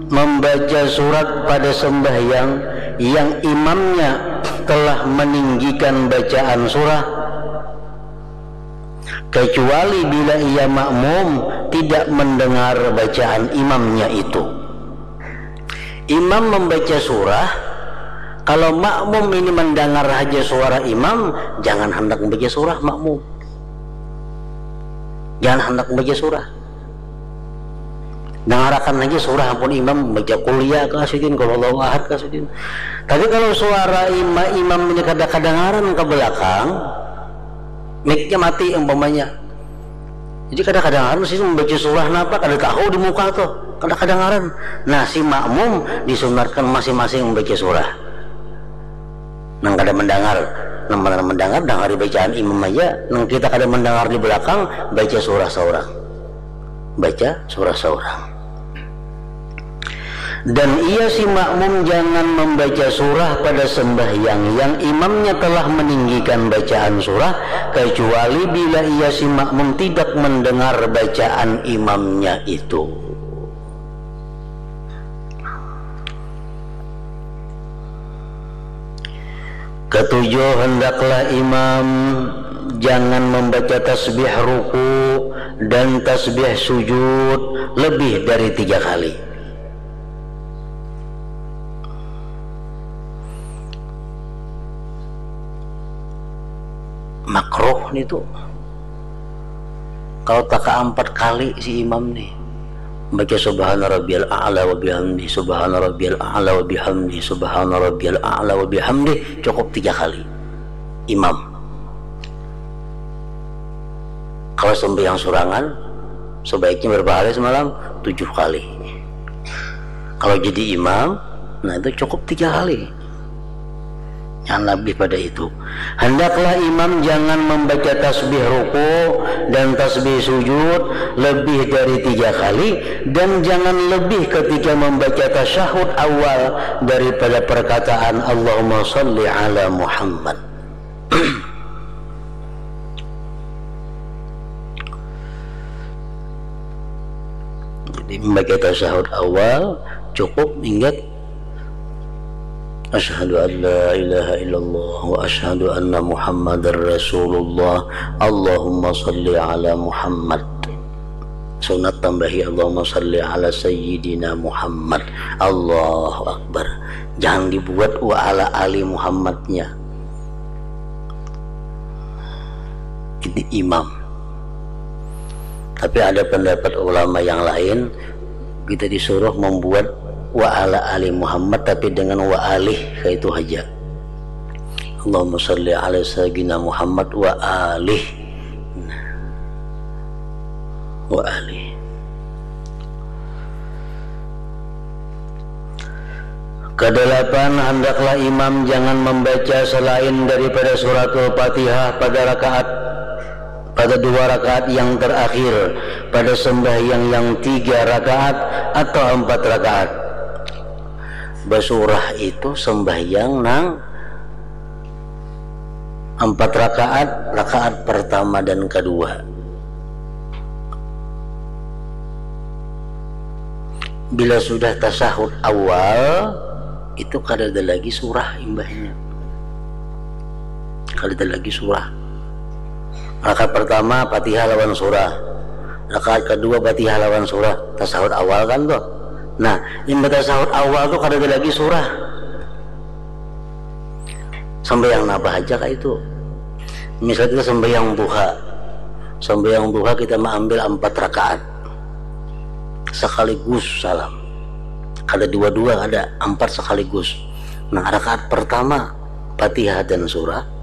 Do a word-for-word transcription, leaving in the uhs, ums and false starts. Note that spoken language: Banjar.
Membaca surat pada sembahyang yang imamnya telah meninggikan bacaan surah, kecuali bila ia makmum tidak mendengar bacaan imamnya itu. Imam membaca surah, kalau makmum ini mendengar haja suara imam, jangan handak membaca surah makmum. Jangan handak membaca surah. Dangarakan haja surah ampun imam membaca kuliah kah sidin, kalau Allahu Ahad kah sidin. Tapi kalau suara ima, imam ini kada kadangaran ke belakang, miknya mati umpamanya. Jadi kada kadangaran sidin membaca surah napa, kada tahu di muka tuh, kada kadangaran. Nah, si makmum disunatkan masing-masing membaca surah. Nang kada mendengar, nang mana mendengar, dangari bacaan imam aja. Nang kita kada mendengar di belakang, baca surah seorang. Baca surah seorang. Dan ia si makmum jangan membaca surah pada sembahyang yang imamnya telah meninggikan bacaan surah, kecuali bila ia si makmum tidak mendengar bacaan imamnya itu. Ketujuh, hendaklah imam jangan membaca tasbih ruku dan tasbih sujud lebih dari tiga kali. Makruh nitu. Kalau taka empat kali si imam nih baca subhana rabbiyal a'la wa bihamdi, subhana rabbiyal a'la wa bihamdi, subhana rabbiyal a'la wa bihamdi, cukup tiga kali imam. Kalau sembahyang surangan, sebaiknya berapa kali semalam? Tujuh kali. Kalau jadi imam, nah, itu cukup tiga kali. Jangan lebih pada itu. Hendaklah imam jangan membaca tasbih ruku dan tasbih sujud lebih dari tiga kali, dan jangan lebih ketika membaca tasyahud awal daripada perkataan Allahumma salli ala Muhammad. Jadi membaca tasyahud awal cukup ingat, asyhadu an la ilaha illallah wa asyhadu anna Muhammadar Rasulullah. Allahumma salli ala Muhammad. Sunat tambahi Allahumma salli ala sayyidina Muhammad. Allahu Akbar. Jangan dibuat wa ala ali Muhammadnya. Ini imam. Tapi ada pendapat ulama yang lain, kita disuruh membuat wa ala ali Muhammad tapi dengan wa alih, kayak itu aja. Allahumma salli ala sayyidina Muhammad wa alih. Nah. Wa alih. Kedelapan, hendaklah imam jangan membaca selain daripada suratul Fatihah pada rakaat, pada dua rakaat yang terakhir pada sembahyang yang tiga rakaat atau empat rakaat. Basurah itu sembahyang nang empat rakaat, rakaat pertama dan kedua. Bila sudah tasahud awal, itu kada ada lagi surah imbahnya. Kada ada lagi surah. Rakaat pertama Fatihah lawan surah. Rakaat kedua Fatihah lawan surah. Tasahud awal kan tuh. Nah, imbah tasahud awal tuh kada ada lagi surah. Sambayang napa haja kah itu? Misal kita sambayang duha. Sambayang duha kita maambil empat rakaat. Sakaligus salam. Kada dua-dua, kada, empat sakaligus. Nah, rakaat pertama Fatihah dan surah.